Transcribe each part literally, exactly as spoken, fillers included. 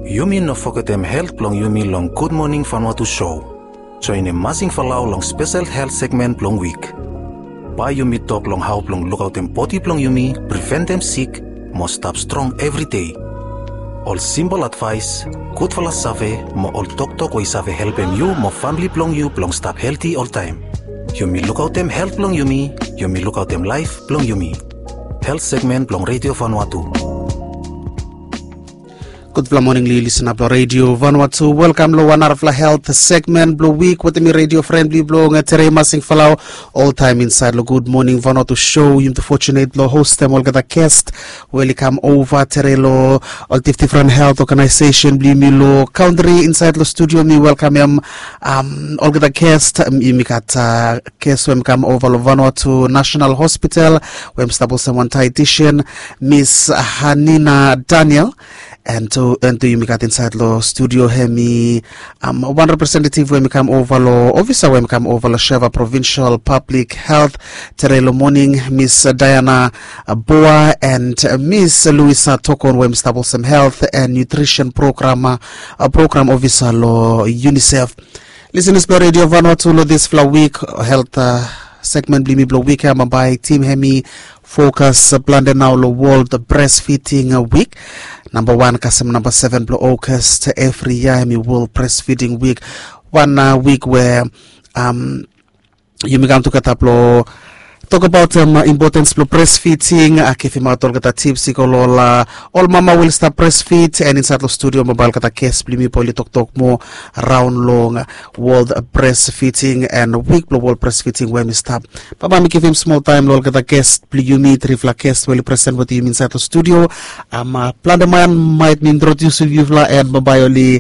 Yumi no fogetem helt blong yumi long Gud Moning Vanuatu show. Joenem Masing Falau long spesel helt segmen blong wik. Bae yumi tok long hao blong lukaotem bodi blong yumi, priventem sik, mo stap strong evri dei. Ol simpol advaes, gudfala save, mo ol toktok we i save helpem yu mo famle blong yu blong stap helti oltaem. Yumi lukaotem helt blong yumi, yumi lukaotem laef blong yumi. Helt segmen blong Redio Vanuatu. Gudfala moning long yu, lisena blong Redio Vanuatu. Welkam long wan narafala helt segmen blong wik wetem mi, redio fren blong yu blong Tere Masing Falau, oltaem insaed long Gud Moning Vanuatu show. Yumi tu fotunet blong hostem olgeta gest we oli kam ova tere long ol difdifren helt oganaesesen blong yumi long kantri. Insaed long studio mi welkamem olgeta gest. Yumi gat gest we hem i kam ova long Vanuatu National Hospital, we hem i stap olsem wan dietitian, Miss Hanina Daniel. And tu, and tu yumi gat insaed long studio hemi wan representative we hem i kam ova long, ofisa we hem i kam ova long Sheva Provincial Public Health tere long moning, Miss Diana Boa, and Miss Luisa Tokon we hem i stap olsem health and nutrition program, program ofisa long UNICEF. Lisenas blong Redio Vanuatu, long disfala wik helt segmen blong yumi blong wik ya, bambae tim hemi fokas plante nao long World Breastfeeding Week. Nambawan kasem nambaseven blong August evri yia hemi World Breastfeeding Week. Wan wik we yumi kam tugeta blong tokbaot impotens blong breastfeeding, givimaot olgeta tips i go long ol mama we oli stap breastfeed. And insaed long studio bambae olgeta gest blong yumi bae oli toktok moa raon long World Breastfeeding and wik blong World Breastfeeding we hemi stap. Bambae mi givim smol taem long olgeta gest blong yumi, trifala gest we oli present wetem yumi insaed long studio. Plante man maet mi introdiusim yufala and bambae oli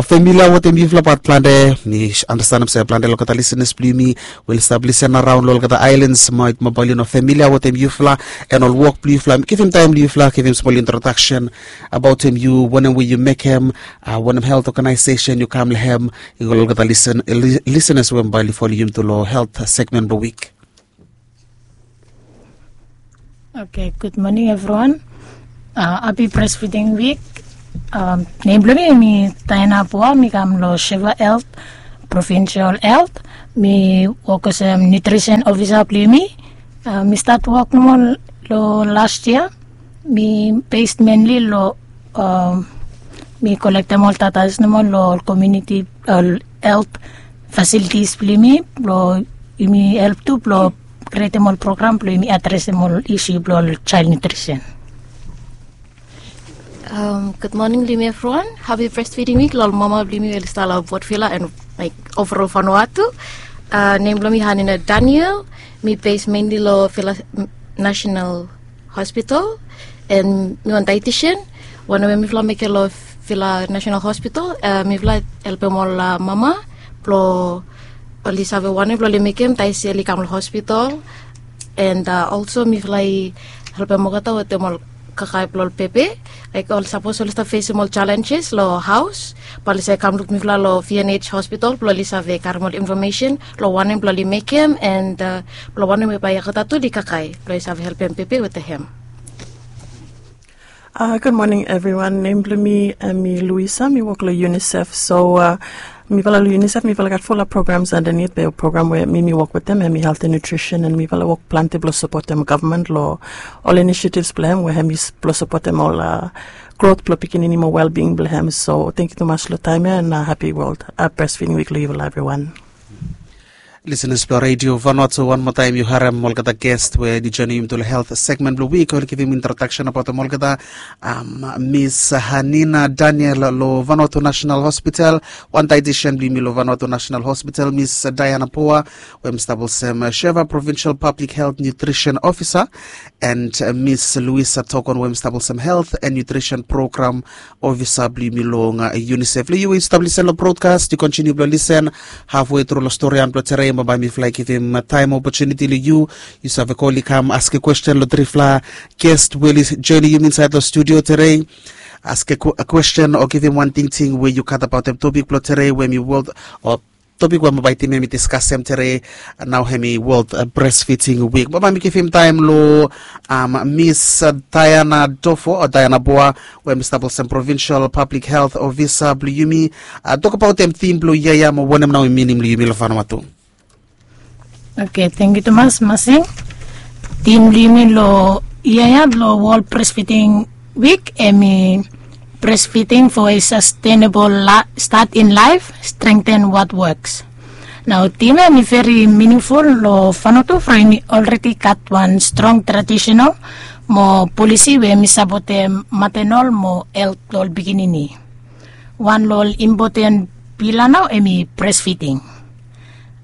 familia wetem yufala, bat plante, mi andastanem se plante long olgeta lisenas blong yumi we oli stap lisen araon long olgeta aelans maet bambae oli no familia wetem yufala and ol wok blong yufala. Mi givim taem long yufala givim smol introdaksen abaotem yu, wanem we yu mekem, wanem helt oganaesesen yu kam long hem, i go long olgeta lisenas we bambae oli folem yumi tu long helt segmen blong wik. Oke, gud moning evriwan. Hapi Breastfeeding Wik. Nem blong mi hemi Diana Boa, mi kam long Sheva Health, Provincial Health. Mi wok olsem nutrition officer blong yumi. Mi stat wok nomo long last year. Mi based mainly long, mi kolektem ol datas nomo long ol community, ol health facilities blong yumi, blong yumi help tu blong krietem ol program blong yumi adresem ol issue blong ol child nutrition. Gud moning long yumi evriwan. Hapi Breastfeeding Wik long ol mama blong yumi we oli stap long Port Vila and, like, overall Vanuatu. Nem blong mi Hanina Daniel. Mi base mainly long Vila National Hospital, and mi wan dietitian. Wanem we mifala mekem long Vila National Hospital, mifala helpem ol mama blong oli save wanem blong oli mekem taem se oli kam long hospital. And also mifala i helpem olgeta wetem ol kakae blong ol pepe. Laek ol sapos oli stap fesem ol challenges long haos, bae oli save kam luk mifala long V N H hospital blong oli save karem ol infomesen long wanem blong oli mekem and blong wanem we bae olgeta tu oli kakae blong oli save helpem pepe wetem hem. Gud moning evriwan. Nem blong mi hemi Luisa, mi wok long UNICEF. So mifala long UNICEF mifala gat fulap programs andanit, be program we mi mi wok wetem hemi health and nutrition, and mifala wok plante blong sapotem gavman long ol initiatives blong hem we hemi blong sapotem ol growth blong pikinini mo wellbeing blong hem. So tangkiu tumas long taem ya, and hapi World Breastfeeding Wik long yufala evriwan. Lisenas blong Redio Vanuatu, wan moa taem yu harem olgeta gest we oli joenem yumi tu long helt segmen blong wik, oli givim introdaksen abaotem olgeta. Miss Hanina Daniel long Vanuatu National Hospital, wan dietitian blong yumi long Vanuatu National Hospital, Miss Diana Poa we hem i stap olsem Sheva Provincial Public Health Nutrition Officer, and Miss Luisa Tokon we hem i stap olsem Health and Nutrition Program Ofisa blong yumi long UNICEF. Long yu we yu stap lisen long brodkas, yu kontiniu blong lisen hafwe tru long storian blong tere, bambae mifala i givim taem opotuniti long yu. Yu save kol i kam askem kwesten long trifala gest we oli joenem yumi insaed long studio tere. Askem kwesten o givim wan tingting we yu gat abaotem topik blong tere we hemi World o topik we bambae tim ya mi diskasem tere. Nao hemi World Breastfeeding Week, bambae mi givim taem lo Miss Diana Dofo o Diana Boa, we mi stap olsem Provincial Public Health Officer blo yumi, tokbaot hem tim blo yia ya mo wanem nao hem minim lo yumi lo Vanuatu. Oke, tangkiu tumas Masing. Tim blo yumi lo yia ya blo World Breastfeeding Week hemi Breastfeeding for a Sustainable Start in Life, Strengthen What Works. Nao tim ya hemi veri miningful lo Vanuatu from hemi alredi gat wan strong traditional mo polisi we hemi sapotem matenol mo helt blo ol pikinini. Wan lo ol impoten pila nao hemi breastfeeding.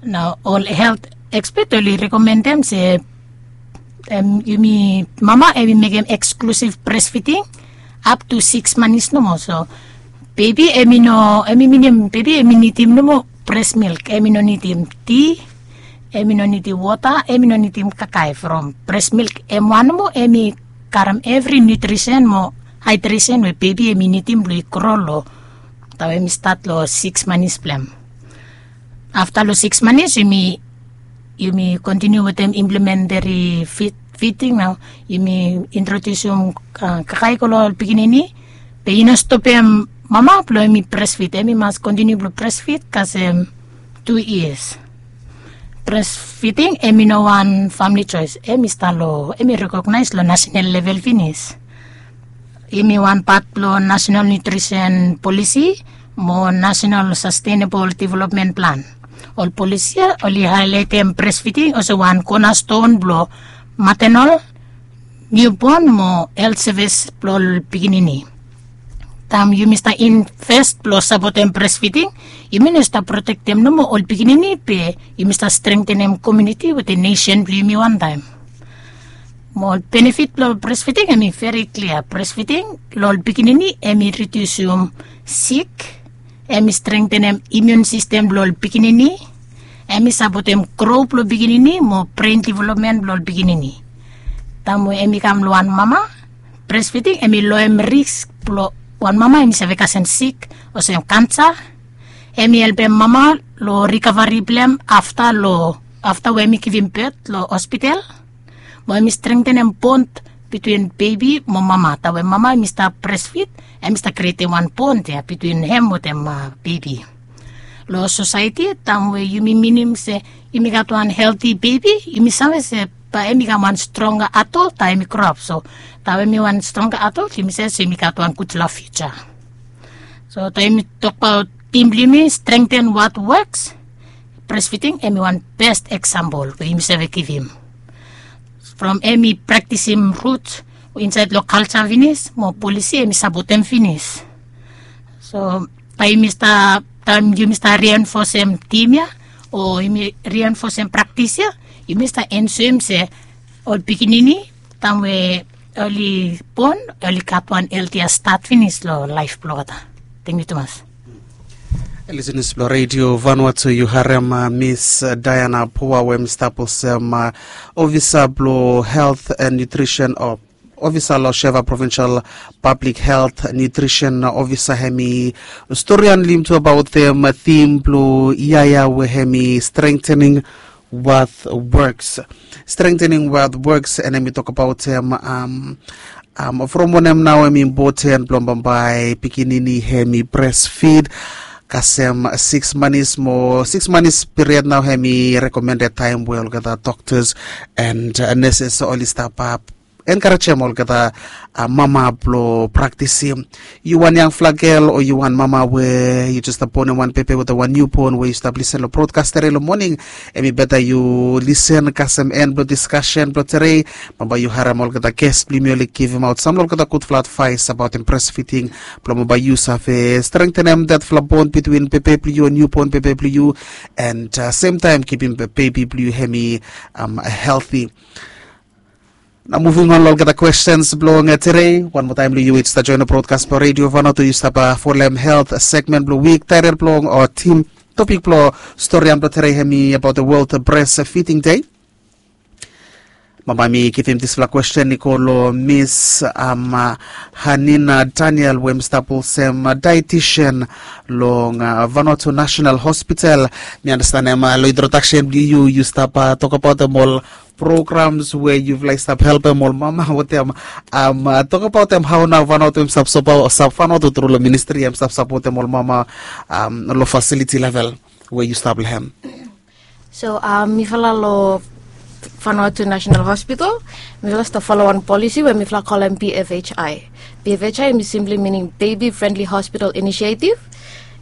Nao ol helt ekspet oli rekomendem se yumi mama hemi mekem eksklusiv breastfeeding ap tu siks manis nomo. So bebi hemi no hemi minim bebi hemi nidim nomo breast milk, hemi no nidim ti, hemi no nidim wota, hemi no nidim kakae from breast milk. Hem wan nomo hemi karem evri nutrisen mo haidresen we bebi hemi nidim blo i gro lo taem hemi stat lo siks manis blo hem. Afta lo siks manis yumi kontiniu wetem implementeri fiding nao. Yumi introdiusim kakae i go lo ol pikinini, be i no stopem mama blo hemi breastfeed, hemi mas kontiniu blo breastfeed kasem tu yias. Breastfeeding hemi no wan famili joes, hemi stap lo hemi rekognaes lo nasenal level finis. Hemi wan pat blo nasenal nutrisen polisi mo nasenal sastenabol developmen plan. Ol polisi ya oli haelaetem breastfeeding olsem wan konaston blo matenol, niubon mo helt sevis blo ol pikinini. Taem yumi stap invest blo sapotem breastfeeding, yumi no stap protektem nomo ol pikinini be yumi stap strengtenem komuniti wetem nesen blo yumi wantaem. Mo ol benefit blo breastfeeding hemi veri klia. Breastfeeding lo ol pikinini hemi ridiusim sik, hemi strengtenem imiun sistem blo ol pikinini, hemi sapotem gro blo pikinini mo bren developmen blo ol pikinini. Taem we hemi kam lo wan mama, breastfeeding hemi loem risk blo wan mama hemi save kasem sik olsem kansa. Hemi helpem mama lo rikavari blo hem afta lo afta we hemi givim bet lo hospital. Mo hemi strengtenem bond bitwin bebi mo mama. Taem we mama hemi stap breastfeed, hemi stap krietem wan bond ya bitwin hem wetem bebi. Lo sosaeti taem we yumi minim se yumi gat wan helti bebi, yumi save se bae hemi kam wan stronga adol taem hemi groap. So taem we hemi wan stronga adol yumi save se yumi gat wan gudfala fiuja. So taem yumi tokbaot tim blo yumi strengten wat woks, breastfeeding hemi wan best eksampol we yumi save givim. From hemi praktisim rut insaed lo kalja finis mo polisi hemi sapotem finis. So taem yumi stap taem yumi stap rienfosem tim ya o yumi rienfosem praktis ya, yumi stap ensurim se ol pikinini taem we oli bon oli gat wan heltia stat finis lo laef blo olgeta. Tangkiu tumas. Lisenas blo redio Vanuatu, yu harem Miss Diana Pua we hem stap olsem ofisa blo helt and nutrisen o ofisa lo Sheva Provincial Public Health Nutrition Officer. Hemi stori hanlem tu abaot hem tim blo yia ya we hemi strengtening what works. Strengtening what works, and hemi tokbaot hem from wanem nao hemi impoten blo bambae pikinini hemi breastfeed kasem siks manis mo siks manis piriod nao hemi rekomended taem we olgeta doktas and neses oli stap enkarejem olgeta mama blo praktisim. Yu wan yangfala gel o yu wan mama we yu jes stap bonem wan pepe wetem wan niubon we yu stap lisen lo brodkas tere lo moning, hemi beta yu lisen kasem en blo diskasen blo tere. Bambae yu harem olgeta ges blo yumi oli givimaot sam lo olgeta gudfala advaes abaotem breastfeeding blo bambae yu save strengtenem detfala bon bitwin pepe blo yu o niubon pepe blo yu, and semtaem kipim bebi blo yu hemi helti. Nao muvim on lo olgeta kwestens blong tere. Wan moa taem lo yu we yu stap joenem brodkas blong redio Vanuatu, yu stap folem helt segmen blong wik. Taetel blong o tim topik blong storian blong tere hemi abaot the World Breastfeeding Day. Bambae mi givim dispela kwesten i go long Miss Hanina Daniel, we mi stap olsem dietitian long Vanuatu National Hospital. Mi andastanem long introdaksen bilong yu, yu stap tokabautim ol programs we yufala i stap helpim ol mama wetem. Tokabautim hau nau Vanuatu em stap, Vanuatu tru long ministri em stap sapotim ol mama long fasiliti level we yu stap long hem. So mifala long Vanuatu National Hospital, mifala stap folo wan polisi we mifala kolem B F H I. B F H I em i simpli mining Baby Friendly Hospital Initiative.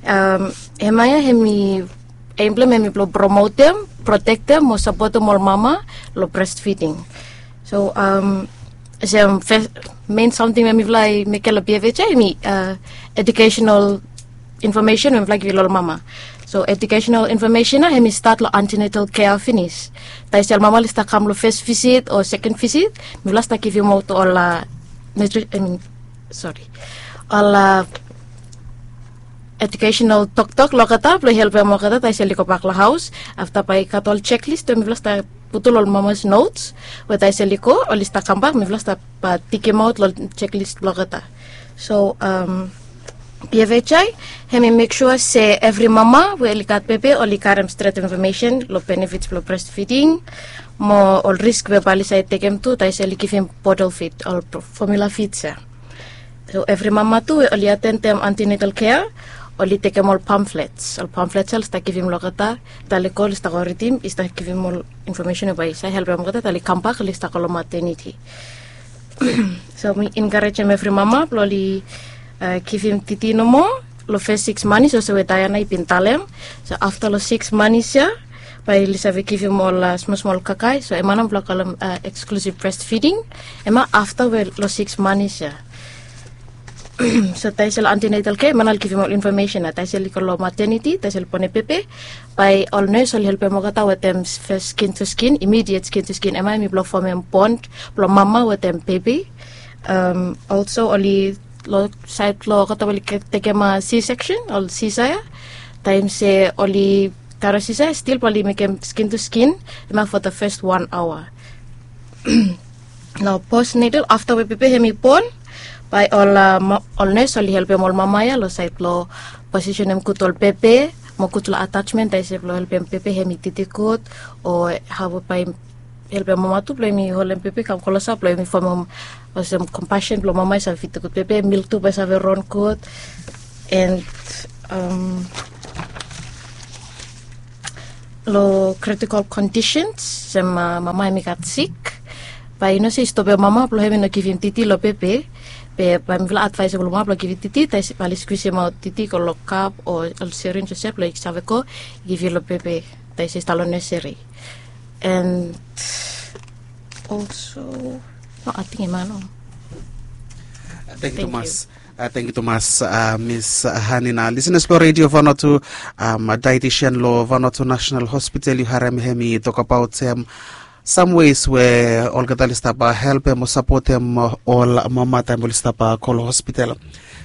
Em ya em i, em bilong em i bilong promotem, protektem o sapotem ol mama long breastfeeding. So olsem, mein samting we mifala i mekim long B F H I em i educational information we mifala givim long ol mama. So educational information na em i stat long antenatal care finis. Taisel mama oli stap kam long first visit o second visit, mifala stap givim aut ol nutri, I mean, sorry, ol educational toktok long olgeta bilong helpim olgeta taisel i go bak long haus. Afta bai i gat ol checklist we mifala stap putum long ol mamas notes, we taisel i go oli stap kambak, mifala stap tikimaut long checklist bilong olgeta. So B F H I em i mek sua se evri mama we oli gat bebe oli karim stret information long benefits bilong breastfeeding, mo ol risk we bai oli save tekem tu taisel i givim bottle feed, ol formula feeds ya. So evri mama tu we oli atendem antenatal care, oli tekem ol pamphlets. Ol pamphlets ya oli stap givim long olgeta, taisel i go oli stap go ridim, i stap givim ol information we bai i save helpim olgeta taisel i kambak oli stap go long maternity. So mi encouragem evri mama bilong oli givim titi nomo long fes siks manis olsem we Diana i bin talem. So afta long siks manis ya bai oli save givim ol smol smol kaikai. So em ya nao mifala kolem exclusive breastfeeding. Em ya afta we long siks manis ya. So taisel antenatal care em ya nao oli givim ol information ya, taisel i go long maternity, taisel i bonem bebe, bai ol nes oli helpim olgeta wetem fes skin to skin, immediate skin to skin. Em ya em i bilong fomim bond bilong mama wetem bebe. Olsem oli long sait bilong olgeta we oli tekem C section, ol sisa ya, taim se oli karim sisa ya stil bai oli mekem skin to skin, em ya for the first one hour. Nao postnatal, afta we bebe em i bon, bai ol ol nes oli helpim ol mama ya long sait bilong posisenim gud ol bebe, mo gud long attachment, taisel bilong helpim bebe em i titi gud, o hau bai helpim mama tu bilong em i holim bebe i kam klosap, bilong em i fomim olsem compassion bilong mama i save fitim gud bebe, milk tu bai save ron gud. And long critical conditions, olsem mama em i gat sik, bai i no se i stopim mama bilong em i no givim titi long bebe. Be bai mifala advaisem long mama bilong givim titi, taisel bai oli skwisim aut titi i go long kap o ol syringe olsem bilong i save go givim long bebe, taisel i stap long nursery. And also, no, ating em ya nao. Thank you, Thomas. Thank you, Thomas. Miss Hanina, listeners bilong Radio Vanuatu, dietitian long Vanuatu National Hospital, yu harim em i tokabautim some ways we olgeta oli stap helpim o sapotim ol mama taim oli stap go long hospital.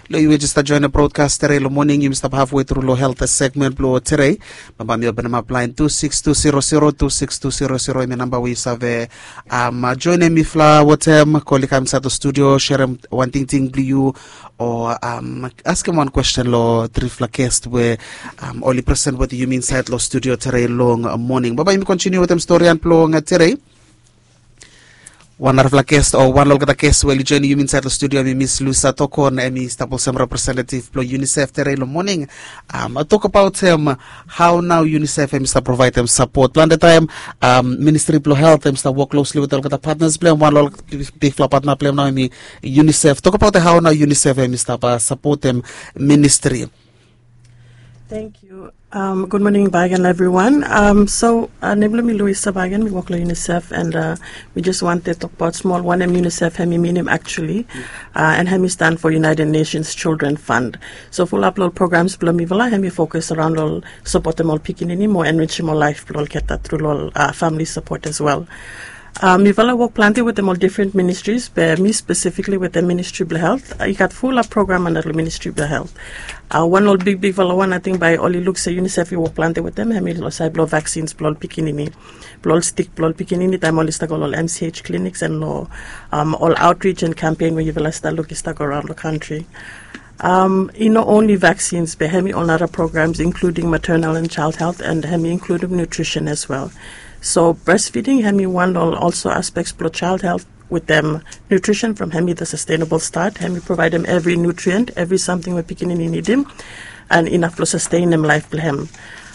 Long yu we just join the broadcast tere long morning, yumi stap halfway through long health segment bilong tere. Bambae mi openim ap lain tu siks tu zero zero tu siks tu zero zero, em i namba we yu save joinim mifala wetem, kol i kam insait long studio, serim wan tingting bilong yu, o askim wan kwesten long trifala guest we oli present wetem yumi insait long studio tere long morning. Bambae yumi kontiniu wetem stori bilong tere. Wan narafala guest o wan long olgeta guest we oli joinim yumi insait long studio em i Miss Luisa Tokon, em i stap olsem representative bilong UNICEF tere long morning. Tokabautim hau nau UNICEF em i stap provaidim sapot. Plante taim Ministri bilong Health em i stap wok closely wetem olgeta partners bilong em. Wan long ol bigfala partner bilong em nau em i UNICEF. Tokabautim hau nau UNICEF em i stap sapotim ministri. Thank you. Um, good morning, Bagan, everyone. Um, so, uh, nem bilong mi Luisa Bagan, mi wok long UNICEF, and uh, mi just wanted to talk about small one em UNICEF, em i minim actually, uh, and em i stand for United Nations Children Fund. So, fulap long programs bilong mifala, em i focus around long supportim ol pikinini, mo enrichim ol life bilong olgeta through long uh, family support as well. Uh, mifala wok planti wetem ol different ministries, be mi specifically wetem Ministry blong Health. Uh, i gat fulap program anda long Ministry blong Health. Uh, wan ol bigbigfala wan, ating bae oli luk se UNICEF i wok planti wetem, hemi long saed blong vaccines blong ol pikinini, blong ol stik blong ol pikinini taem oli stap go long ol MCH clinics and long um, ol outreach and campaign we yufala stap luk i stap go raon long kantri. Um, i no only vaccines, be hemi ol nara programs, including maternal and child health, and hemi including nutrition as well. So breastfeeding, hemi wan ol also aspects blong child health wetem nutrition from hemi the sustainable start. Hemi provaedem evri nutrient, evri samting we pikinini nidim, and inaf blong sustenem laef blong hem,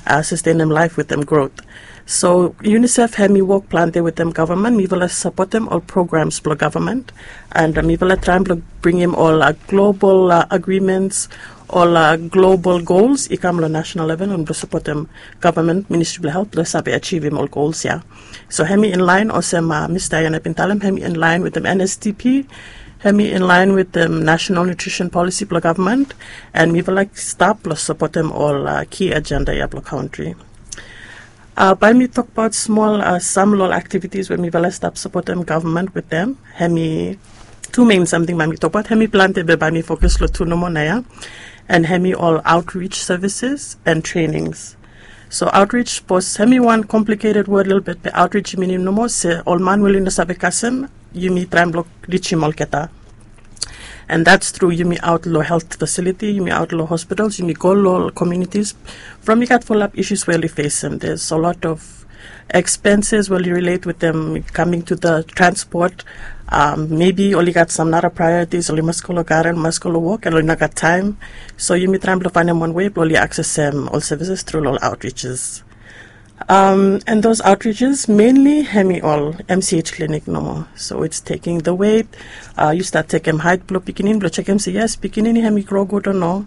uh, sustenem laef wetem growth. So UNICEF hemi wok planti wetem gavman. Mifala sapotem ol programs blong gavman, and uh, mifala traem blong bringim ol uh, global uh, agreements, ol uh, global goals i kam long national level, and blong sapotem gavman, Ministry blong Health, blong save ajivim ol goals ya. So hemi inlaen, olsem uh, Miss Diana bin talem, hemi inlaen wetem NSDP, hemi inlaen wetem National Nutrition Policy blong gavman, and mifala stap blong sapotem ol uh, key agenda ya blong kantri. Uh, bae mi tokbaot smol uh, sam long ol activities we mifala stap sapotem gavman wetem. Hemi tu main samting bae mi tokbaot. Hemi planti, be bae mi fokus long tu nomo naoia. And hemi ol outreach services and trainings. So outreach, sapos hemi wan complicated word lelebet, be outreach i minim nomo se ol man we oli no save kasem, yumi traem blong rijim olgeta. And that's through yumi aot long health facility, yumi aot long hospitals, yumi go long communities. From i gat fulap issues we oli fesem. There's a lot of expenses we oli relate wetem coming to the transport. Um, maybe oli gat sam nara priorities, oli mas go long garen, oli mas go long wok, and oli no gat taem. So yumi traem blong faenem wan wei blong oli aksesem ol services tru long ol outreaches. Um, and those outreaches mainly hemi ol MCH clinic nomo. So it's taking the weight. Uh, yu stap jekem haet blong pikinini blong jekem se yes, pikinini hemi gro gud o no.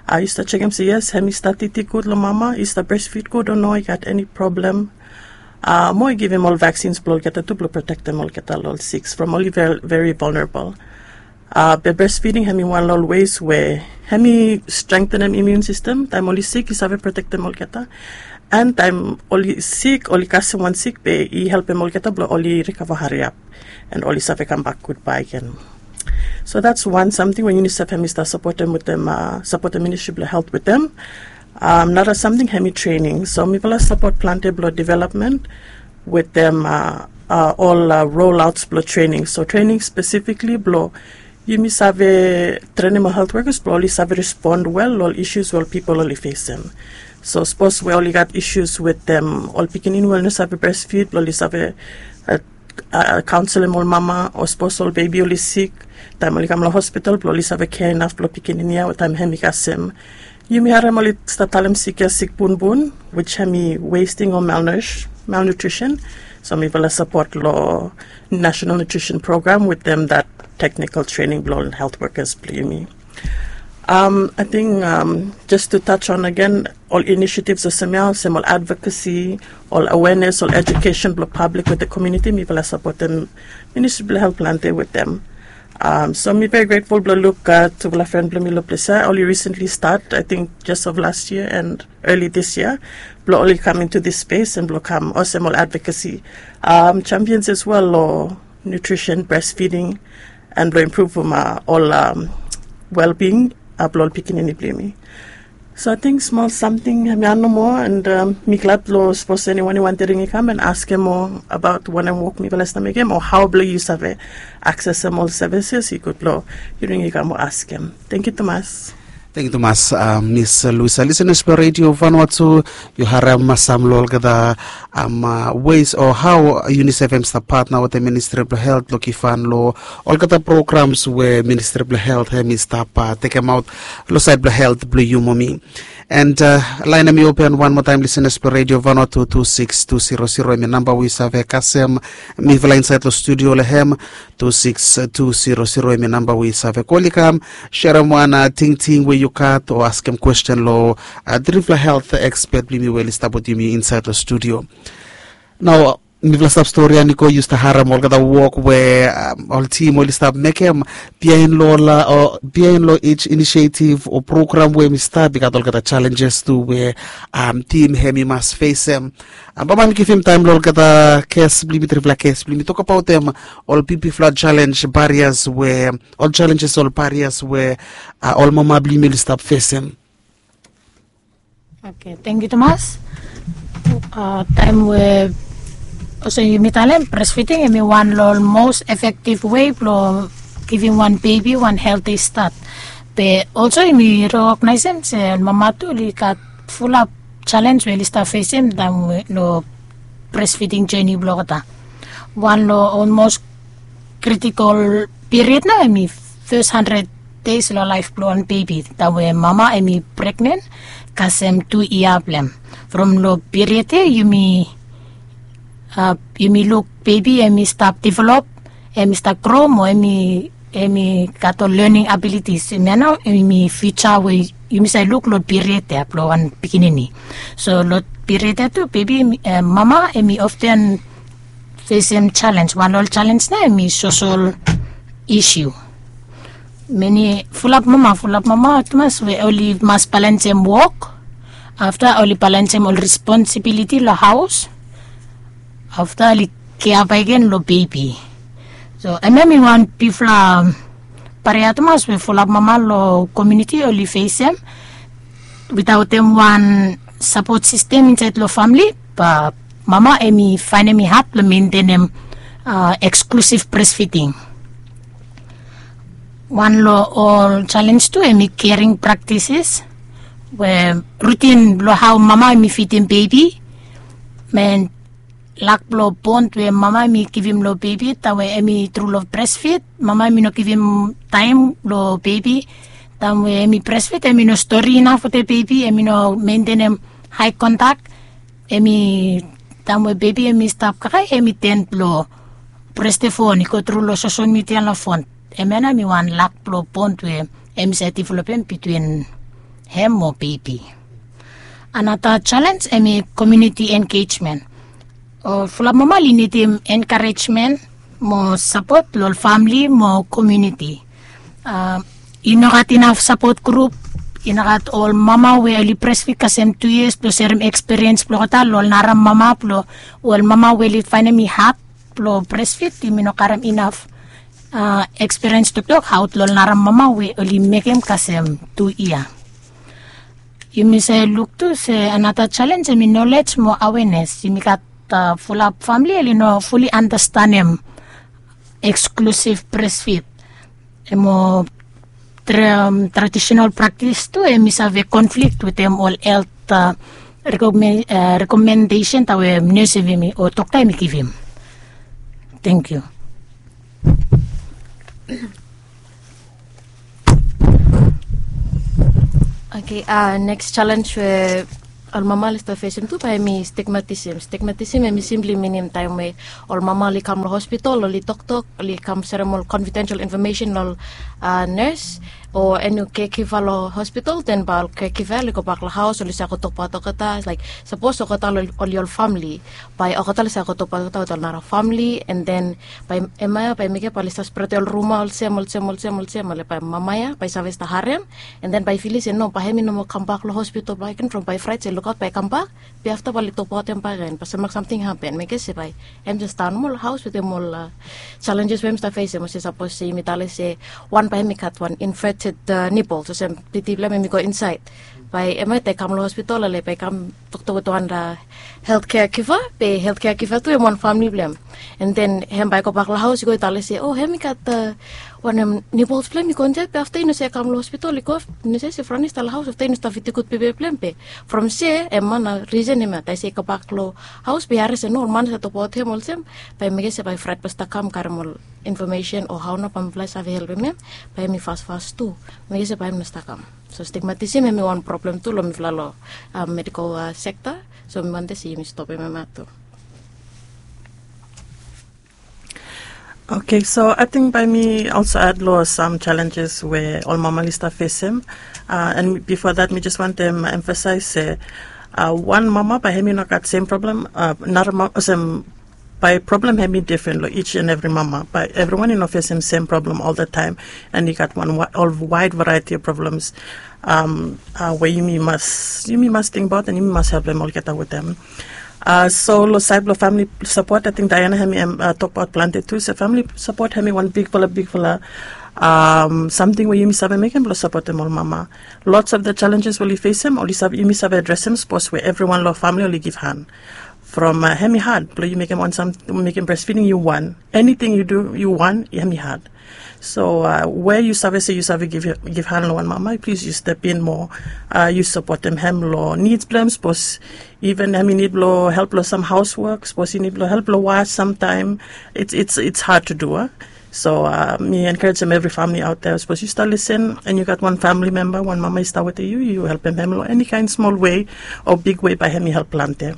Uh, yu stap jekem se yes, hemi stap titi gud long mama, i stap breastfeed gud o no, i gat eni problem. Uh, mo i givim ol vaccines blong olgeta tu blong protektem olgeta long ol siks from oli very, very vulnerable. Uh, be breastfeeding hemi wan long ol ways we hemi strengthenem immune system. Taem oli sik, i save protektem olgeta. And taem oli sik, oli kasem wan sik, be i helpem olgeta blong oli recover hariap. And oli save kambak gud bakegen. So that's one samting we UNICEF hemi stap sapotem wetem, uh, sapotem Ministry blong Health wetem. Um, nara samting hemi training. So mifala sapot planti blong development wetem uh, uh, ol uh, rollouts blong training. So training specifically blong yumi save trenem ol health workers blong oli save respond well long ol issues we ol pipol oli fesem. So sapos we oli gat issues wetem ol pikinini we oli no save breastfeed, blong oli save uh, uh, counselem ol mama, o sapos ol bebi oli sik, taem oli kam long hospital, blong oli save kea inaf blong pikinini ya, o taem hemi kasem. Yumi harem oli stap talem sik ya sik bunbun, which hemi wasting o malnourish, malnutrition. So mifala sapot long National Nutrition Program wetem that technical training blong ol health workers blong yumi. Um, ating um, just to touch on again, ol initiatives olsem ya, olsem ol advocacy, ol awareness, ol education blong public with the community, mifala sapotem Ministry blong Health planti wetem. Um, so mi very grateful blong luk uh, tufala fren blong mi long ples ya. Oli recently start, I think, just of last year and early this year, blong oli come into this space and blong kam olsem ol advocacy um, champions as well long nutrition, breastfeeding, and blong improve uh, ol um, well-being uh, blong ol pikinini blong yumi. So ating smol samting hemi ya nomo, and um, mi glad blong sapos eniwan i wantem ring i kam and askem moa abaot wanem wok mifala stap mekem o hao blong yu save aksesem ol services, i gud blong yu ring i kam o askem. Tangkiu tumas. Tangkiu tumas, uh, Miss Luisa. Lisenas blong Radio Vanuatu, yu harem sam long olgeta um, uh, ways o hao UNICEF hemi stap patna wetem Ministry blong Health blong givhan long olgeta programs we Ministry blong Health hemi stap uh, tekemaot long saed blong health blong yu mo mi. And uh, laen hemi open wan moa taem, lisenas blong Radio Vanuatu, tu siks tu zero zero hemi namba we yu save kasem mifala insaed long studio long hem. Tu siks tu zero zero hemi namba we yu save kol i kam serem wan uh, tingting we yu gat o askem kwesten long uh, trifala health expert blong yumi we oli stap wetem yumi insaed long studio. Nao Mifala stap stori ya, Niko, yu stap harem olgeta wok we ol tim oli stap mekem biaen long ol biaen long each inisiativ o program we mi stap i gat olgeta challenges tu we tim hem i mas fesem. Baba mi givim taem long olgeta kes blong yumi, trifala kes blong yumi tokabaotem ol bigfala challenge, barias we ol challenges, ol barias we ol mama blong yumi oli stap fesem. Oke, tangkiu tumas. Taem we olsem yumi talem, bresfiding hem i wan long ol mos efektiv wei blong givim wan bebi wan helti stat. Be olso yumi rekognaesem se ol mama tu oli gat fulap chalens we oli stap fesem taem we long bresfiding joni blong olgeta. Wan long ol mos kritikol piriod nao hem i fes handred deis long laef blong wan bebi taem we mama hem i pregnen kasem tu yia blong hem. From long piriod ya yumi yumi luk bebi hem i stap develop, hem i stap gro mo hem i gat ol lening abilitis. Hemia nao hem i fiuja we yumi save luk long piriod ya blong wan pikinini. So long piriod ya tu bebi, mama hem i often fesem chalens. Wan long ol chalens nao hem i sosol isiu. Mani fulap mama, fulap mama tumas we oli mas balensem wok, afta oli balensem ol responsibiliti long haos, afta oli kea bakegen long bebi. So hemia hem i wan bigfala baria tumas we fulap mama long komuniti oli fesem. Witaotem wan sapot sistem insaed long famili, ba mama hem i faenem i had blong mentenem eksklusiv bresfiding. Wan long ol chalens tu hem i kering praktisis we rutin blong hao mama hem i fidim bebi, men lak blong bon we mama hem i givim long bebi taem we hem i tru long bresfid. Mama hem i no givim taem long bebi. Taem we hem i bresfid hem i no stori inaf wetem bebi, hem i no mentenem hae kontak. Hem i taem we bebi hem i stap kakae hem i ten blong prestefon i go tru long sosol midia long fon. Hemia nao hem i wan lak blong bon we hem i save developem bitwin hem mo bebi. Anata chalens hem i komuniti engejmen. Ol fulap mama oli nidim enkarejmen mo sapot long ol famili mo komuniti. I no gat inaf sapot grup, i no gat ol mama we oli bresfid kasem tu yias blong serem ekspiriens blong olgeta long ol nara mama blong ol mama we oli faenem i had blong bresfid. Yumi no karem inaf ekspiriens toktok aot long ol nara mama we oli mekem kasem tu yia. Yumi save luk tu se anata chalens hem i nolej mo awenes. Yumi gat fulap famili oli no fuli anastenem eksklusiv bresfid. Mo tradisonal praktis tu hem i save konflik wetem ol helt rekomendesen taem we nes hem i o dokta hem i givim. Tangkiu. Oke, neks chalens we ol mama oli stap fesem tu bae hem i stigmatisim. Stigmatisim hem i simpli minim taem we ol mama oli kam long hospital, oli toktok, oli kam serem ol konfidensel infomesen long ol nes o eni kekiva long hospital, den bae ol kekiva oli gobak long haos, oli save go tokbaot olgeta, laek sapos olgeta oli ol famili, bae olgeta oli save go tokbaot olgeta wetem ol nara famili, and then bae hemia bae mekem bae oli save spretem ol ruma olsem olsem olsem olsem, ale bae mama ya bae i save stap harem, and then bae i filim se no, bae hem i no moa kambak long hospital bakegen from bae i fraet se lukaot bae i kambak, be afta bae oli tokbaot hem bakegen, be se mak samting hapen, mekem se bae hem jes daon long haos wetem ol challenges we hem i stap fesem. Olsem sapos se yumi talem se wan bae hem i gat wan inverted nipples, olsem titi blong hem hem i go insaed, bae hemia taem i kam long hospital, ale bae i kam toktok wetem wan health caregiver, be health caregiver tu hem wan famili blong hem. And then hem bae i gobak long haos i go i talem se, o, hem i gat wanem, nipples blong hem i go insaed, be afta i no save kam long hospital, i go, i no save se Franis i stap long haos, afta i no stap fitim gud pepe blong hem. Be from se hemia nao risen hemia, taem se i gobak long haos be i harem se no, ol man i save tokbaot hem olsem, bae mekem se bae fraet bae i stap kam karem ol infomesen o hao nao bae mifala i save helpem hem, bae hem i fasfas tu, mekem se bae hem no stap kam. So stigmatisim hem i wan problem tu long mifala long medical sekta. So mi wantem se yumi stopem hemia tu. Oke, so ating bae mi olso ad long sam challenges we ol mama oli stap fesem. And bifo dat mi jes wantem emfasaes se wan mama bae hem i no gat sem problem, nara mama olsem Bae problem hem i difren long each and every mama, bae evriwan i no fesem sem problem oltaem. And i gat wan ol wide variety of problems, um, uh, we yumi mas yumi mas tingbaot and yumi mas helpem olgeta wetem. Uh, so long saed blong famili sapot, ating Diana hem i, um, uh, tokbaot plante tu. So famili sapot hem i wan bigfala bigfala, um, samting we yumi save mekem blong sapotem ol mama. Lots of the challenges we oli fesem, oli save, yumi save adresem sapos we evriwan long famili oli givhan. From, uh, hem i had blong yu mekem wan sam, mekem breastfeeding yu wan, eniting yu du yu wan, hem i had. So, uh, we yu save se yu save givhan long wan mama, plis yu step in moa. Uh, yu sapotem hem long nids blong hem, sapos even hem i nid blong help long sam haoswok, sapos i nid blong help long was samtaem. It's, it's, it's hard to do, a? So, uh, mi enkarejem evri famili aot dea, sapos yu stap lisen and yu gat wan famili memba, wan mama i stap wetem yu, yu helpem hem long eni kaen smol wei o bigwe, bae hem i help plante.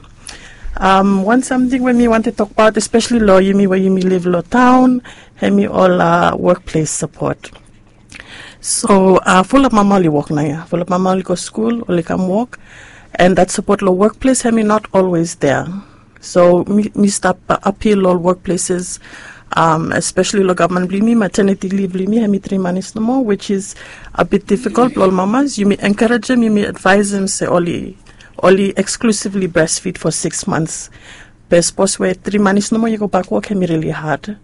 Um, wan samting we mi wantem tokbaot, espeseli long yumi we yumi liv long taon, hem i ol, uh, wokples sapot. So, uh, fulap mama oli wok naoia, fulap mama oli go skul, oli kam wok, and that sapot long wokples hem i not always dea. So mi, mi stap, uh, apil long ol wokpleses, um, espeseli long gavman blong yumi, mateniti liv blong yumi hem i tri manis nomo, which is a bit difficult blong ol mamas. Yumi enkarejem, yumi advaesem se oli, oli eksklusivli breastfeed for six months. Be sapos we tri manis nomo yu gobak wok, hem i rili had.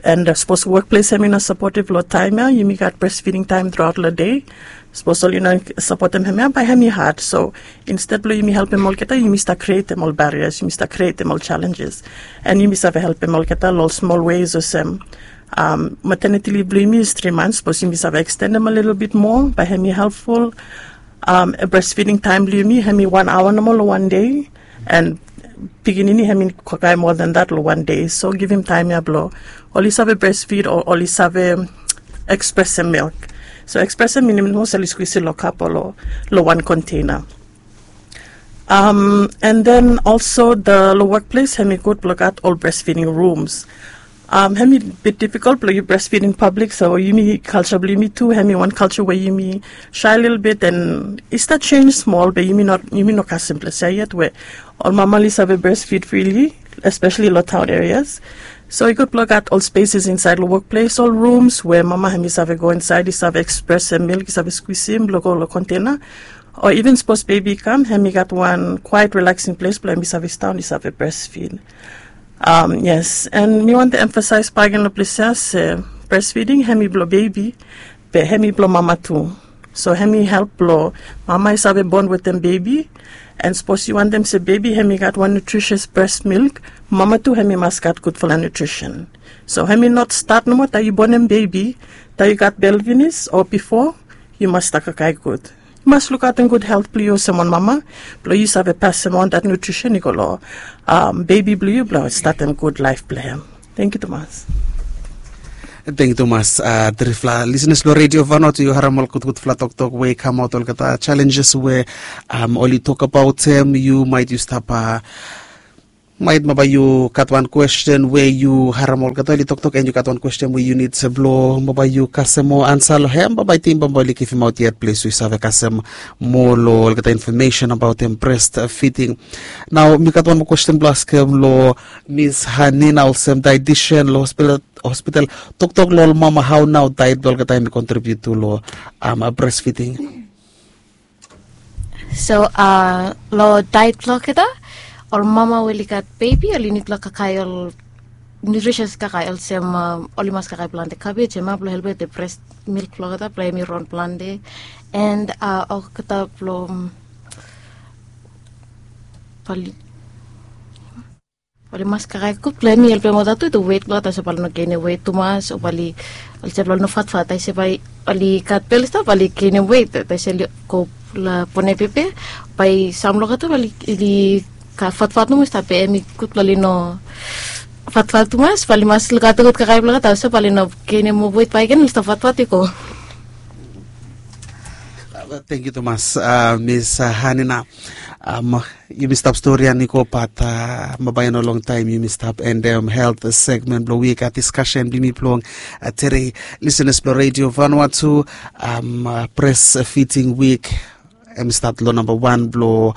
And, uh, sapos wokples hem i no sapotiv long taem ia, yumi gat breastfeeding taem truaot long dei. Sapos oli no sapotem hem ia, bae hem i had. So instead blong yumi helpem olgeta, yumi stap krietem ol barriers, yumi stap krietem ol challenges. And yumi save helpem olgeta long ol smol ways olsem, um, mateniti liv blong yumi is tri manis, sapos yumi save ekstendem a little bit moa, bae hem i helpful. Um, breastfeeding taem blong yumi hem i wan aoa nomo long wan dei, and pikinini hem i kakae moa than that long wan dei. So givim taem ia blong oli save breastfeed o oli save ekspresem milk. So ekspresem minim nomo se oli skwisem long kap o long wan konteina. Um, and then also the long wokples hem i gud blong gat ol breastfeeding rooms. Um, hem i bit difficult blong yu breastfeed in public, so yumi, culture blong yumi tu hem i wan culture we yumi shy a little bit, and i stap jenis smol, be yumi no, yumi no kasem ples ia yet we ol mama oli save breastfeed freely, espeseli long town areas. So i gud blong gat ol spaces insaed long wokples, ol rooms we mama hem i save go insaed, i save ekspresem milk, i save skwisem blong go long konteina. O even sapos bebi i kam, hem i gat wan kwaet relaxing ples blong hem i save sidaon, i save breastfeed. Um, yes, and mi wantem emfasaes bakegen long ples ia se breastfeeding hem i blong bebi, be hem i blong mama tu. So hem i help blong mama i save bond wetem bebi. And sapos yu wantem se bebi hem i gat wan nutritious breast milk, mama tu hem i mas gat gudfala nutrition. So hem i not stat nomo taem yu bonem bebi, taem yu gat bel finis o bifo, yu mas stap kakae gud. Yu mas lukaotem gud helt blong yu olsem wan mama, blong yu save pasem on that nutrition i go long, um, bebi blong yu blong statem gud laef blong hem. Tangkiu tumas. Tangkiu tumas, uh, trifala lisenas blong Redio Vanuatu, yu harem ol gudgudfala toktok we i kamaot, olgeta challenges we, um, oli tokbaot hem. Yu maet yu stap, uh, maet bambae yu gat wan kwesten we yu harem olgeta oli toktok, and yu gat wan kwesten we yu nid blong bambae yu kasem moa ansa long hem, bambae ting bambae oli givimaot yet ples we yu save kasem moa long olgeta infomesen abaotem breastfeeding. Nao mi gat wan moa kwesten blong askem long Miss Hanina olsem dietitian long hospital, hospital. Toktok long ol mama, hao nao diet blong olgeta hem i contribute tu long, um, breastfeeding? So, uh, long diet blong olgeta, ol mama we oli gat bebi oli nid blong kakae ol nutritious kakae olsem, um, oli mas kakae plante cabbage, hemia blong helpem the breast milk blong olgeta blong hem i ron plante. And, uh, olgeta blong, um, bae oli mas kakae gud blong hem i helpem olgeta tu, the weight blong olgeta, so bae oli no genem weight tumas, o bae oli, olsem blong oli no fatfat, taem se bae oli gat bel i stap bae oli genem weight, taem se oli go long bonem bebi, bae sam blong olgeta bae oli, oli fatfat nomo i stap, be hem i gud blong oli no fatfat tumas, bae oli mas lukaotem gud kakae blong olgeta, so bae oli no genem moa weight bakegen, oli stap fatfat i go. Uh, tangkiu tumas, uh, Miss, uh, Hanina. Um, yumi stap stori ia i go, bat, uh, bambae i no longtaem yumi stap endem health segment blong wik, uh, diskasen blong yumi blong, uh, tede. Lisenas blong Redio Vanuatu, um, uh, breastfeeding wik hem i stat long namba wan blong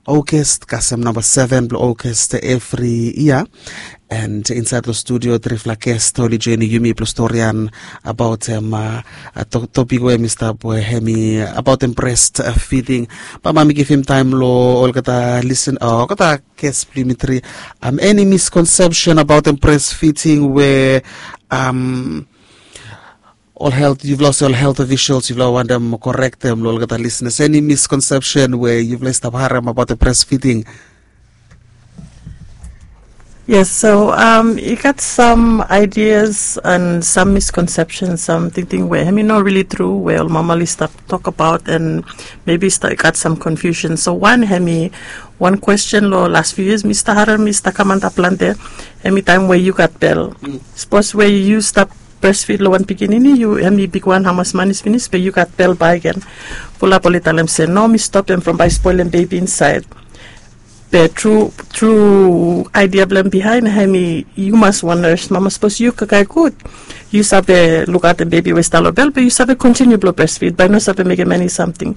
Ogest kasem namba seven blong Ogest evri yia. And insaed long studio trifala gest oli joinim yumi blong storian abaotem topik we mi stap we hemi abaotem brest fiding. Bambae mi givim taem long olgeta lisen olgeta gest blong yumi tri. Eni miskonsepsen abaotem brest fiding we ol helt yufala olsem ol helt ofisels yufala wantem korektem long olgeta lisnes eni miskonsepsen we yufala i stap harem abaotem brest fiding? Yes, so um, i gat sam ideas and sam miskonsepsen, sam tingting we hem i no rili tru we ol mama oli stap tok abaot and mebi i gat sam konfiusen. So wan hem i wan kwesten long las fiu yias mi stap harem mi stap kam antap plante. Hem i taem we yu gat bel, sapos we yu stap brestfid long wan pikinini yu hem i bigwan hamas manis finis be yu gat bel baegen. Fulap oli talem se no mi stopem from bae i spolem bebi insaed. Be tru tru aidia blong hem bihaen hem i yu mas wan nurse mama sapos yu kakae gud yu save lukaotem bebi we i stap long bel be yu save kontiniu blong brestfid bae i no save mekem eni samting.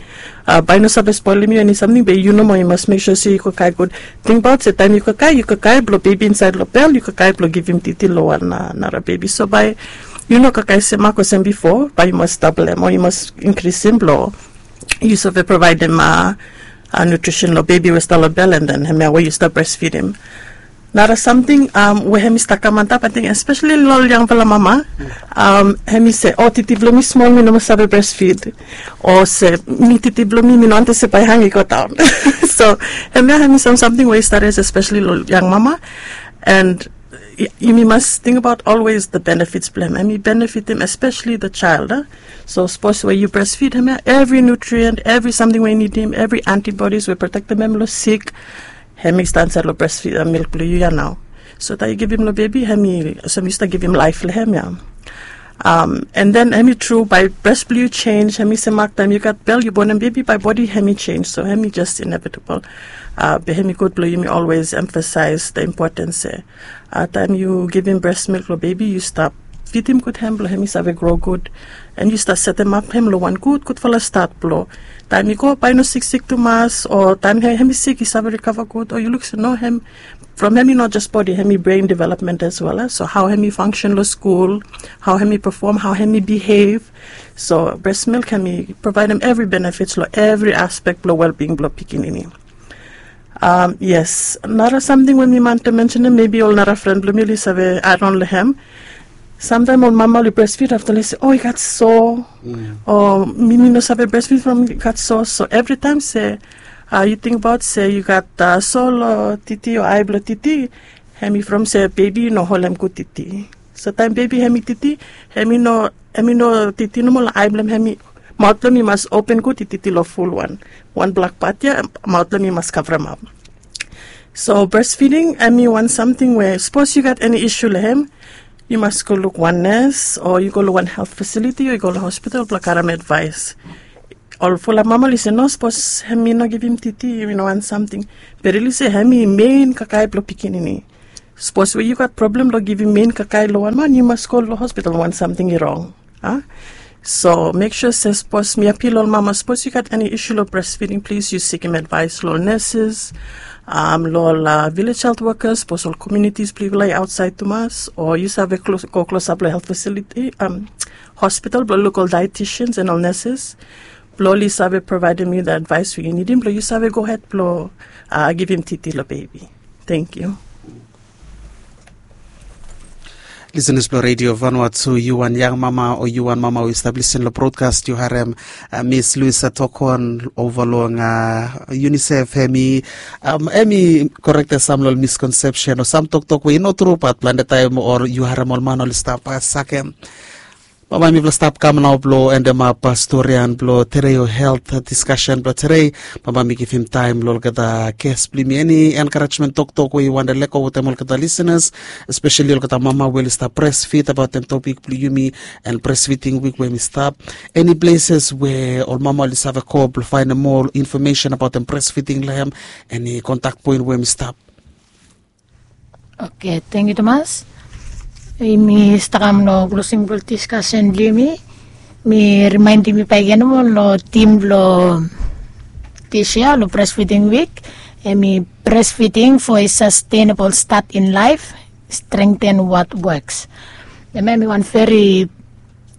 Bae i no save spolem yu eni samting be yu nomo yu mas mek sua se yu kakae gud. Tingbaot se taem yu kakae yu kakae blong bebi insaed long bel yu kakae blong givim titi long wan nara bebi so bae yu no kakae semak olsem bifo bae yu mas dablem o yu mas inkrisim blong yu save provaedem nutrisen long bebi we i stap long bel and then hemia we yu stap brestfidim. Nara samting we hem i stap kam antap ating espeseli long ol yangfala mama. Hem i se o titi blong mi smol mi no mas save brestfid. O se mi titi blong mi mi no wantem se bae i hang i go daon. So hemia hem i sam samting we i stap res espeseli long ol yang mama. And yumi mas tingbaot olwes the benefits blong hem hem i benefitim espeseli the child. So sapos we yu brestfid hemia evri nutrient evri samting we i nidim evri antibodies we protektem hem long sik. Hem i stap insaed long brestfid milk blong yu ya nao. So taem yu givim long bebi hem i olsem yu stap givim laef long hem ya. And then hem i tru bae brest blong yu sens hem i semak taem yu gat bel yu bonem bebi bae bodi hem i sens so hem i jes inevitable. Be hem i gud blong yumi olwes emfasaes the impotens se taem yu givim brest milk long bebi yu stap fidim gud hem blong hem i save gro gud. And yu stap setemap hem long wan gud gudfala stat blong taem i go bae i no siksik tumas o taem hem i sik i save rikava gud o yu luk se no hem from hem i no jes bodi hem i bren development as well so hao hem i fangsen long skul, hao hem i pefom hao hem i bihev. So brest milk hem i provaedem evri benefits long evri aspek blong welbing blong pikinini. Yes, nara samting we mi wantem mensenem mebi ol nara fren blong mi oli save adon long hem. Samtaem ol mama oli brestfid afta oli se o i gat so o mi mi no save brestfid from i gat so so evritaem se yu tingbaot se yu gat so long titi o ai blong titi. Hem i from se bebi i no holem gud titi. So taem bebi hem i titi hem i no hem i no titi nomo long ai blong hem i maot blong hem i mas open gud i titi long fulwan. Wan blak pat ya maot blong hem i mas kavremap. So brestfiding hem i wan samting we sapos yu gat eni isu long hem yu mas go luk wan nes o yu go long wan helt fasiliti o yu go long hospital blong karem advaes. Ol fulap mama oli se no sapos hem i no givim titi i no wan samting. Be rili se hem i mein kakae blong pikinini. Sapos we yu gat problem long givim mein kakae long wan man yu mas go long hospital wan samting i rong. So mek sua se sapos mi apil ol mama sapos yu gat eni isu long brestfiding plis yu sikim advaes long ol neses, long ol vilej helt wokas sapos ol komiunitis blong yufala i aotsaed tumas o yu save go klosap long helt fasiliti, hospital blong luk ol daetisians and ol neses blong oli save provaedem yu the advaes we yu nidim blong yu save gohed blong givim titi long bebi. Tengkiu. Lisenas blong redio vanua tu yu wan yang mama o yu wan mama we yu stap lisen long brodkas yu harem mis luisa tokon ova long unisef hem i korektem sam long ol miskonsepsen o sam toktok we i no tru bat plante taem ol yu harem ol man oli stap sakem. Bambae mipela stap kam nao blong endemap storian blong terei o helt diskasen blong terei. Bambae mi givim taem long olgeta ges blong yumi eni enkarejmen toktok we yu wantem lego wetem olgeta lisenas, espeseli olgeta mama we oli stap presfit abaotem topik blong yumi en presfiting wik we mi stap. Eni pleses we ol mama oli save go blong faenem moa infomesen abaotem presfiting long hem? Eni kontak poen we mi stap. Oke, tengkiu tumas. Yumi stap kam long klosing blong diskasen blong yumi. Mi rimaendim yu baik ya nomo long tim blong dis yia long presfiting wik. Hemi breastfeeding for a sustainable start in life, strengthen what works. Hemia hemi wan very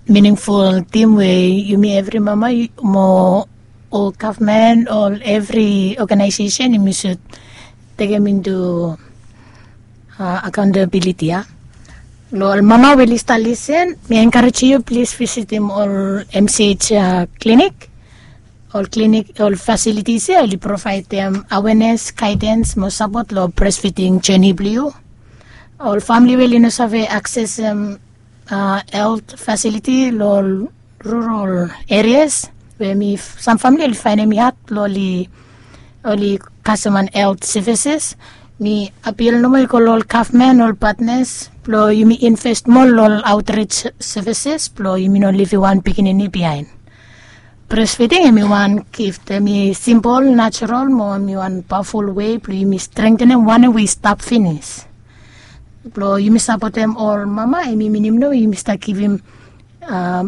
meaningful theme we yumi evri mama mo ol gavman, ol evri organization yumi should tekem into accountability ya. Lo ol mama we oli stap lisen, mi encourage yu plis visitim ol M C H clinic. Ol clinic, ol facilities ya oli provaidem awareness, guidance mo support lo breastfeeding journey blo yu. Ol famili we oli no save accessem health facility lo ol rural areas we mi, sam famili oli faenem i had blo oli kasem wan health services. Mi appeal nomo i go lo ol gavman, ol partners blo yumi invest moa lo ol outreach services blo yumi no livim wan pikinini bihaen. Breastfeeding hemi wan gift, hemi simple, natural mo hemi wan powerful way blo yumi strengthenem wan we i stap finis. Blo yumi supportem ol mama hemi minim nomo yumi stap givim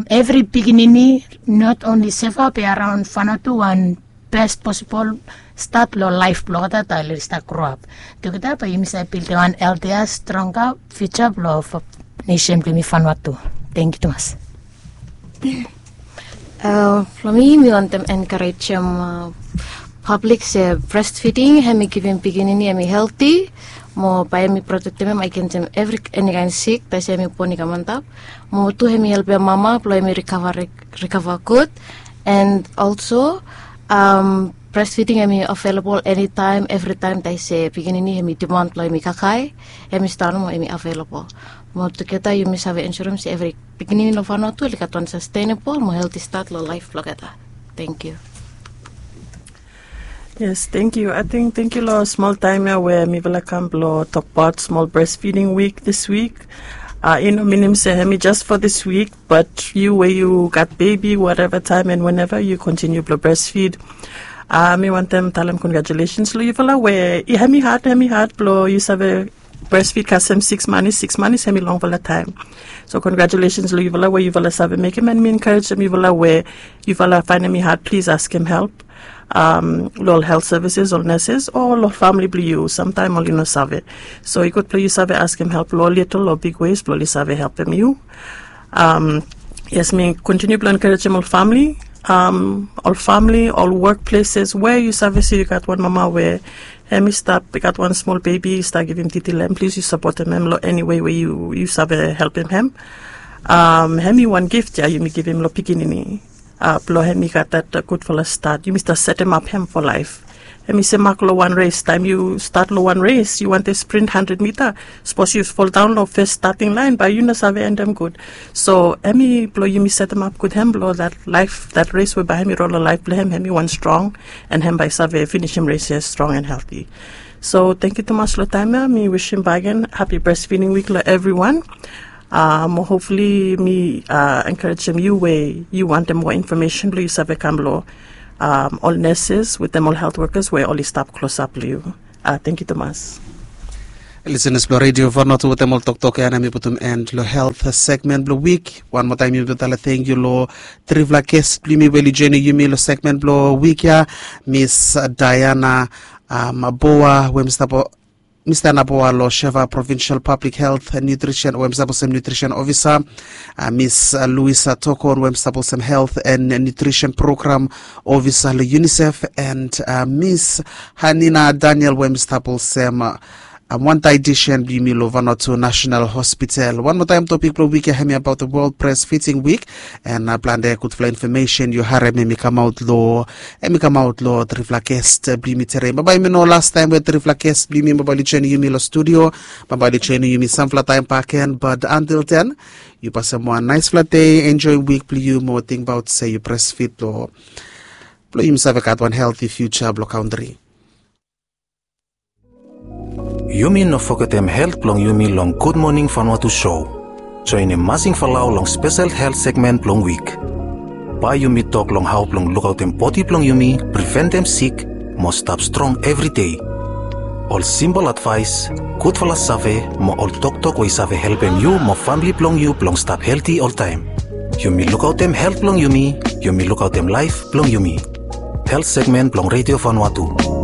evri pikinini, not only Seva be araon Vanuatu, wan best possible start lo life blo olgeta taem oli stap grow up. Tugeta bae yumi save buildim wan healthier, stronger future blo nation blo yumi Vanuatu. Thank you tumas. Blo mi, mi wantem encouragem public se breastfeeding hemi givim pikinini hemi healthy mo bae hemi protektem hem agensem evri eni kaen sik taem se hemi bon i kam antap. Mo tu hemi helpem mama blo hemi recover, recover gud. And also breastfeeding hemi available anytime, everytime taem se pikinini hemi demand blo hemi kakae, hemi stap nomo hemi available. Mo tugeta yumi save ensurem se evri pikinini lo Vanuatu oli gat wan sustainable mo healthy start lo laef blo olgeta. Thank you. Yes, thank you. Ating thank you lo smol taem ya we mifala kam blo tokbaot smol breastfeeding week this week. I no minim se hemi just for this week, but yu we yu gat baby, whatever time and whenever, yu continue blo breastfeed. Mi wantem talem congratulations lo yufala we hemi had, hemi had blo yu save breastfeed kasem six months, six months hemi longfala taem. So congratulations lo yufala we yufala save mekem, and mi encouragem yufala we yufala faenem i had, plis askem help lo ol health services, ol nurses o lo famili blo yu. Samtaem oli no save. So i gud blo yu save askem help lo little o big ways blo oli save helpem yu. Yes, mi kontiniu blo encouragem ol famili, ol famili, ol workplaces we yu save se yu gat wan mama we hemi stap, i gat wan smol bebi i stap givim titi lo hem, plis yu sapotem hem lo eni wei we yu save helpem hem. Hemi wan gift ya yumi givim lo pikinini blo hemi gat dat gudfala stat. Yumi stap setemap hem fo laef. Hemi se mak lo wan res, taem yu stat lo wan res yu wantem sprint handred mita, sapos yu foldaon lo fes stating laen bae yu no save endem gud. So hemi blo yumi setemap gud hem blo dat laef, dat res we bae hemi ron lo laef blo hem, hemi wan strong, and hem bae i save finisim res ya strong and healthy. So tangkiu tumas lo taem ya. Mi wisim bakegen happy breastfeeding week lo evriwan. Mo hopefully mi encouragem yu we yu wantem moa infomesen blo yu save kam lo ol nurses wetem ol health workers we oli stap klosap lo yu. Tangkiu tumas. Lisenas blo Redio Vanuatu, wetem ol toktok ya nao mi putum end lo health segmen blo wik. Wan moa taem mi talem tangkiu lo trifala ges blo yumi we oli joenem yumi lo segmen blo wik ya, Miss Diana Boa we mi stap Mista Naboa lo Seva Provincial Public Health and Nutrition, we hemi stap olsem Nutrition Officer, Miss Luisa Tokon, we hemi stap olsem Health and Nutrition Program Officer lo UNICEF, and Miss Hanina Daniel, we hemi stap olsem wan dietitian blo yumi lo Vanuatu National Hospital. Wan moa taem, topik blo wik ya hemi abaot World Breastfeeding Week. And plante gudfala infomesen yu harem hemi kamaot lo, hemi kamaot lo trifala ges blo yumi tede. Bambae hemi no lastaem we trifala ges blo yumi bambae oli joenem yumi lo studio. Bambae oli joenem yumi samfala taem bakegen, but until then, yu pasem wan naesfala dei, enjoem wik blo yu mo tingbaot se yu breastfeed lo, blo yumi save gat wan healthy future blo kantri. Yumi no fogetem helt blong yumi long Gud Moning Vanuatu show. Joenem Masing Falau long spesel helt segmen blong wik. Bae yumi tok long hao blong lukaotem bodi blong yumi, priventem sik, mo stap strong evri dei. Ol simpol advaes, gudfala save, mo ol toktok we i save helpem yu mo famle blong yu blong stap helti oltaem. Yumi lukaotem helt blong yumi, yumi lukaotem laef blong yumi. Helt segmen blong Redio Vanuatu.